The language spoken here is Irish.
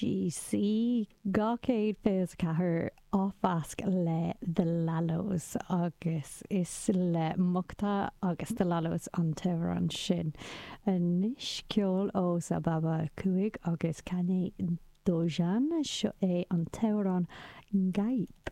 NGC 224 á mheasc le The Lalos agus is le Mocta agus The Lalos an t-amhrán sin. Anois ceol ó Sababa 5 agus Kane Dojan, seo é an t-amhrán Gaip.